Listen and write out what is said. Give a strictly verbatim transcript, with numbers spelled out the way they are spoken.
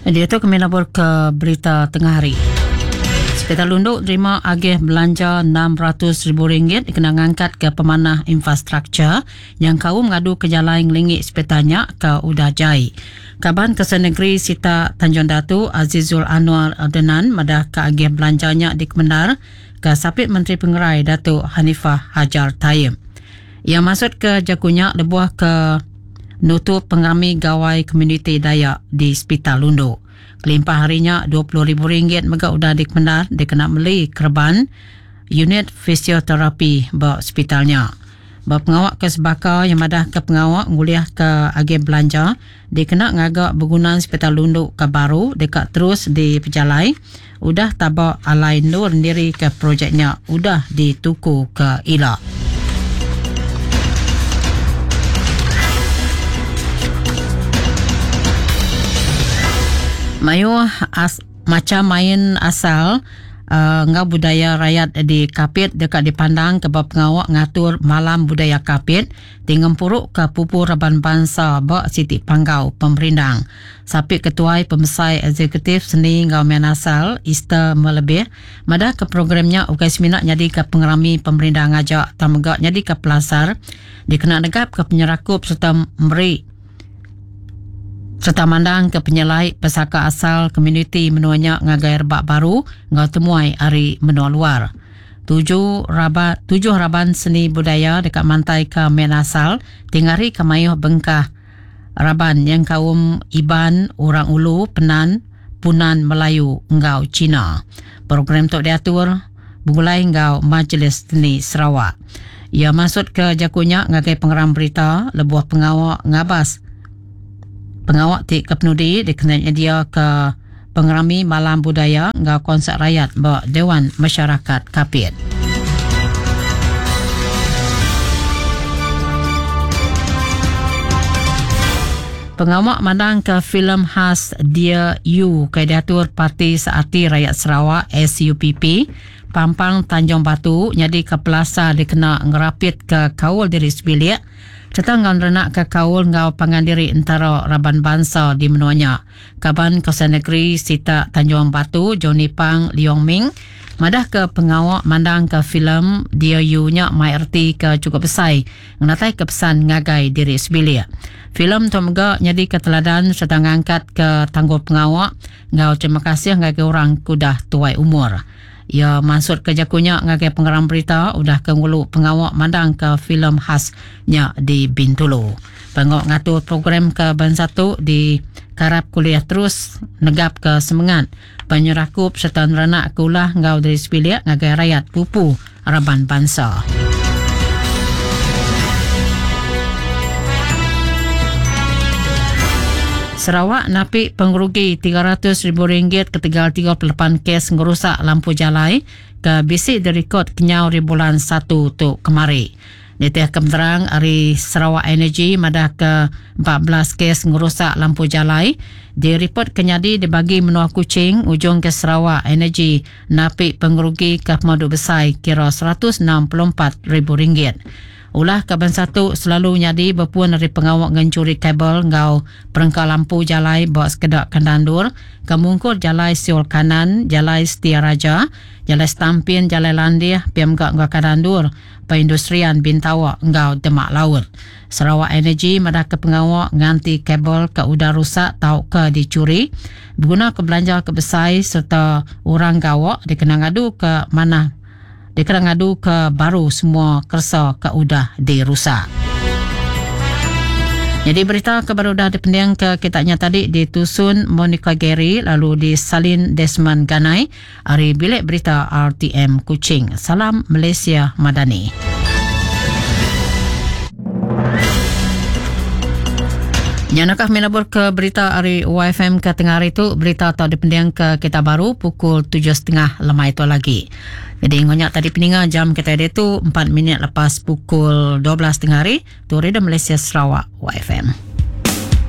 Dia tu kami labur ke berita tengah hari. Sekitar Lunduk terima agih belanja enam ratus ribu ringgit kena ngangkat ke pemanah infrastruktur yang kaum ngadu ke jalan ngelingi sepitalnya ke Udah Jai. Kaban Kesai Negeri Sita Tanjung Datu Azizul Anwar Adenan madah ke agih belanjanya di Kemendar ke Sapit Menteri Pengerai Datuk Hanifah Hajar Taib. Ia masuk ke jakunya lebuah ke nutup pengerami gawai komuniti Dayak di Sepital Lunduk. Kelimpah harinya dua puluh ribu ringgit mega udah dikemendar dikena beli kerban unit fisioterapi ba hospitalnya. Ba pengawak ke sebaka yang madah ke pengawak nguliah ke agi belanja dikena ngagak bergunaan Hospital Lunduk ke baru dekat terus di pejalai udah tabak alai nur diri ke projeknya udah dituku ke ila. Mayuh as, macam main asal uh, ngau budaya rakyat di Kapit dekat dipandang ke bab pengawak ngatur malam budaya Kapit tingempuruk ke pupu raban bangsa bak Siti Panggau Pemerindang. Sapit Ketuai Pemesai Eksekutif Seni ngau main asal Easter Melebih madah ke programnya ukai seminak nyadi ke pengerami pemerindang ngajak tamegak nyadi ke pelasar dikena negap ke penyerakup serta meri serta mandang ke penyelai pesaka asal komuniti menuanya ngagai rebak baru ngau temuai ari menua luar. Tujuh raban, tujuh raban seni budaya dekat mantai ke main asal tingari ke mayuh bengkah raban yang kaum Iban, Orang Ulu, Penan, Punan Melayu ngau Cina. Program tu diatur begulai ngau Majlis Seni Sarawak. Ia masuk ke jakunya ngagai pengeram berita lebuah pengawak ngabas pengawak ti ke penudi dikenai dia ke pengerami malam budaya ngau konsert rakyat ba Dewan Masyarakat Kapit. Pengawak mandang ke filem khas Dear You ke diatur Parti Saati Rakyat Sarawak S U P P Pampang Tanjung Batu nyadi ke pelasa dikena ngerapit ke kaul diri sebilik serta ngau renak ke kaul ngau pangan diri antara raban bangsa di menuanya. Kaban Kawasan Negeri Sita Tanjung Batu Johnny Pang Leong Ming madah ke pengawak mandang ke filem Dear You nya mai erti ke cukup besar ngatai ke pesan ngagai diri sebilik. Filem tu mega nyadi ke teladan serta ngangkat ke tangguh pengawak ngau terima kasih ngagai orang kudah tuai umur. Ia maksud ke jakunya ngagai pengeram berita udah ke ngulu pengawak mandang ke filem khasnya di Bintulu. Pengawak ngatur program ke bangsa tu di karap kuliah terus negap ke semangat penyerakup serta neranak kulah ngau dari sebilik ngagai rakyat pupu raban bangsa. Sarawak napi pengerugi tiga ratus ribu ringgit ketegal tiga puluh lapan kes ngerusak lampu jalai ke bisik direkod kenyau di bulan satu tu kemari. Nitih kemenerang hari Sarawak Energy madah ke empat belas kes ngerusak lampu jalai direport kenyadi dibagi menua Kuching ujung ke Sarawak Energy napi pengerugi ke pemadu besar kira seratus enam puluh empat ribu ringgit. Ulah kaban satu selalu nyadi berpuan dari pengawak ngencuri kabel ngau perengka lampu jalai bawa sekedak kendandur kemungkur jalai Siol Kanan, jalai Setia Raja, jalai Stampin, jalai Landih, P M G ngau kendandur perindustrian Bintawa ngau Demak Laut. Sarawak Energy madah ke pengawak nganti kabel ke udara rusak tau ke dicuri, berguna ke belanja ke besai serta orang gawak dikena ngadu ke mana dikena ngadu ke baru semua kersa ke udah dirusak. Jadi berita ke baru dah dipending ke kitanya tadi ditusun Monica Gary lalu disalin Desmond Ganai ari bilik berita R T M Kuching. Salam Malaysia Madani. Nyanakah menabur ke berita hari Y F M ke tengah hari itu, berita atau dipending ke kita baru pukul tujuh setengah lemai itu lagi. Jadi ngonyak tadi peningan jam kita ada itu empat minit lepas pukul dua belas tengah hari, tu Radio Malaysia Sarawak Y F M.